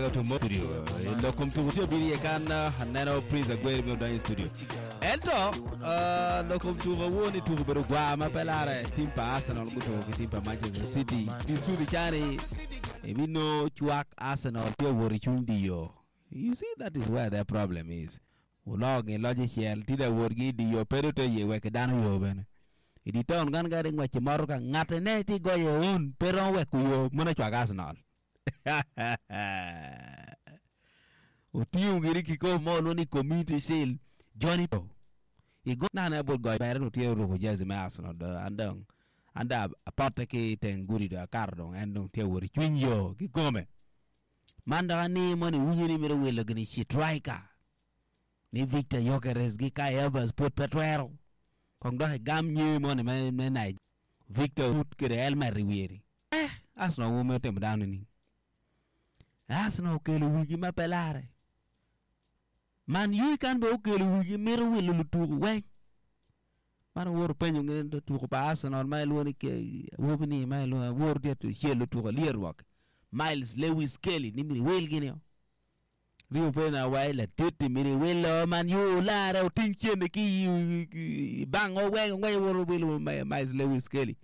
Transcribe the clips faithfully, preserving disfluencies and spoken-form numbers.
Weko tumo studio. Lokom tuko tye obino iye kan aneno Prince Agweri bino donyo i studio. Ento uh, lokom tuko awuo ni tuko obedo gwa ma pe lare tim pa Arsenal gutuko ki tim pa Manchester City. Di studio cani ibino cwak Arsenal tye owot i cuny diyo. You see that is where their problem is. Ulogi loji cel tida wotgi diyo pedo te ye wek dano yo bene. Idi town kan gari ngweci moro ka ngate ne ti goyo un pero wek yo mona cwak Arsenal. Otiyo giri kiko mo lo ni Community Shield Johnny Po. Igo na ne bot goyo bere no tye ruko jersey me Arsenal do andong anda apote ki teng gudi do akato dong en dong tye wot i cwiny yo ki kome. Man dok ani moni winyo ni mito wilo gini striker ni Victor Gyökeres gi Kai Havertz pud pe twero. Kong dok igam nye moni me me Nigeria. Victor put kede helmet i wiye ni. Eh, Arsenal wo me timo dano ni. Arsenal okelo wigi ma pe lare. Man U kan be okelo wigi mito wilo lutuku weng. Man oworo penyo ngene tuku pa Arsenal ma iluongo ni ke awobi ni ma iluongo aworo tye celo tuku lyerruok. Myles Lewis Skelly ni mini wil gini o. Rio pena wai ladit mini wilo Man U lare oting cene ki i bang o weng ngwe woro wilo Myles Lewis Skelly.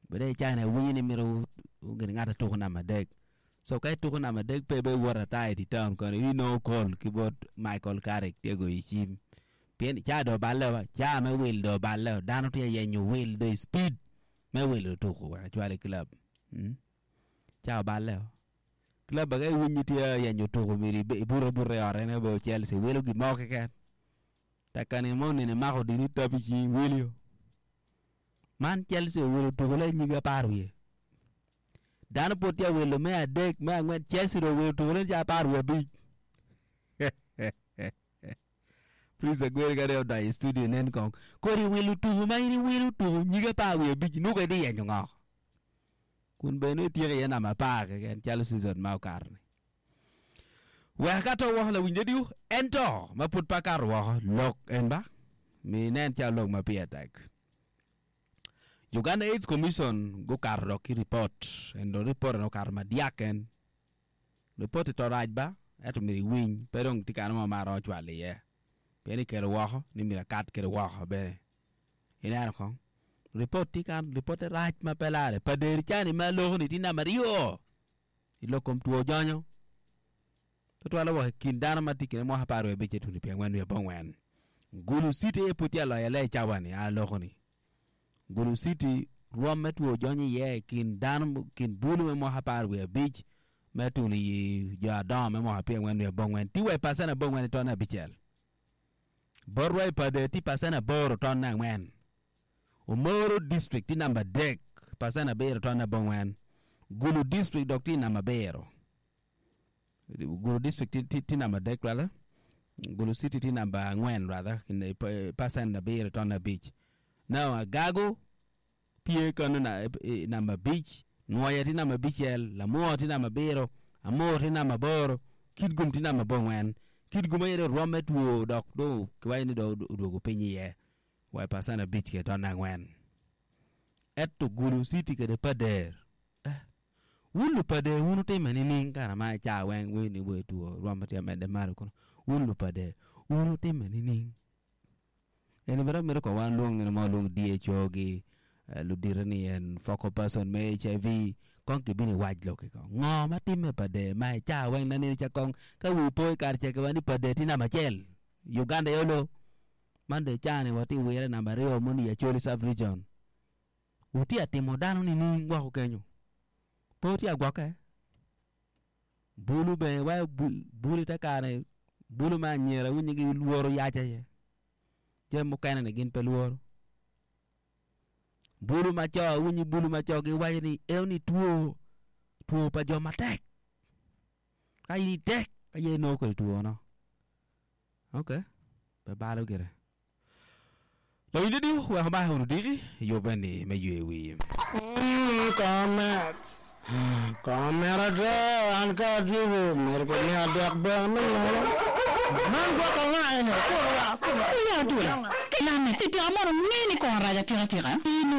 Bede chana winyi ni mito gini ngata tuku namba adek. So ka ituku namba adek pe be wuot ata i town kono i no call ki bot Michael Carrick tye goyo cim. Pien ca do balle wa ca me wil do balle dano tye yenyo wil do speed me wilo tuku wek acwal i club. Hmm? Ca oballe o. Club ka iwinyi tye yenyo tuku miri ibuto buto i ot en obedo Chelsea wilo gimo keken. Takani mo nene mako dini tapi ci wilio. Man Chelsea owilo tuku le nyige apar wiye. Dano pud tye wilo me adek me angwen Chelsea do owilo tuku le ca apar wiye abic. Prince Agweri ka dong odonyo i studio nen kong. Kodi wilo tuku ma in iwilo tuku nyige apar wiye abic nuka idhi yenyo ngo. Kun bene ityeko iye namba apar keken calo season ma okato ni. Wek ka to woko lawiny radio ento ma pud pe akato woko lok en ba mi nen calo lok ma pire tek. Uganda AIDS Commission gukato dok ki report endo report en okato madyak en. Report to rac ba ento myero iwiny pe dong tye kano mo ma aromo cwalo iye. Pien ikelo woko ni myero akat kede woko bene. Ineno kong report tye kan report rac ma pe lare pa deri cani ma loko ni tye namba aryo i lok kom two jonyo. Tutwalo woko i kin dano ma tye kine mwaka apar wiye abic tuni pye angwen wiye abongwen. Gulu City aye pud tye aloyo le i cawa ni a loko ni. Gulu City rwom me two jonyo iye i kin dano kin bulu me mwaka apar wiye abic me tuni i jo adongo me mwaka pye angwen wiye abongwen tye wa i percent abongwen i tonne abicel. Botwa i Pader tye percent aboro tonne angwen. Omoro district tye namba adek percent abiro tonne abongwen. Gulu district dok tye namba abiro. Gulu district tye namba adek rather. Gulu City tye namba angwen rather percent abiro tonne abic. Now Agago pye kano na namba abic, Nwoya tye namba abicel, Lamwo tye namba abiro, Amur tye namba aboro, Kitgum tye namba abongwen. Kitgum aye dong rwom me two dok dong kiwaco ni dong odwogo piny iye wa i percent abic kede tonne angwen. Ento Gulu City kede Pader eh, wun lupader wun utime nining kara ma ica weng weni ni we two rwom tye medde malo kono wun lupader wun utime nining. Eni bene mito ko wan luong nino mo luong D H O gi ludite ni en focal person me H I V kong kibino iwac loki kong. Ngo ma timme Pader ma ica weng na nino ca kong ka wi po i kare ca kiwaco ni Pader tye namba acel Uganda yolo man dong ica ni watye wire namba aryo moni i Acholi sub region. Wutye atimo dano nining woko kenyo. Pe wutye agwokke. Bulu bene wa bulu te kare bulu ma anyira winyo gi lworo yac aye. Jami mukene ni gin pe lworo. Bulu ma co winyo bulu ma co giwaco ni eno ni two two pa jo matek. Ka in itek ka ye inongo kodi two no. Okay, pe balo gire. Lawiny radio wek omaki wunu diki yubbe ni me ywe wi. Komet, komet ate an ka atyeko myero kimiya dek bene me nono. Man gwoko anga eni? Kurwa, kurwa. Oya adwola, ki lame, itika mono nge ni kongo rac atika tika? Ini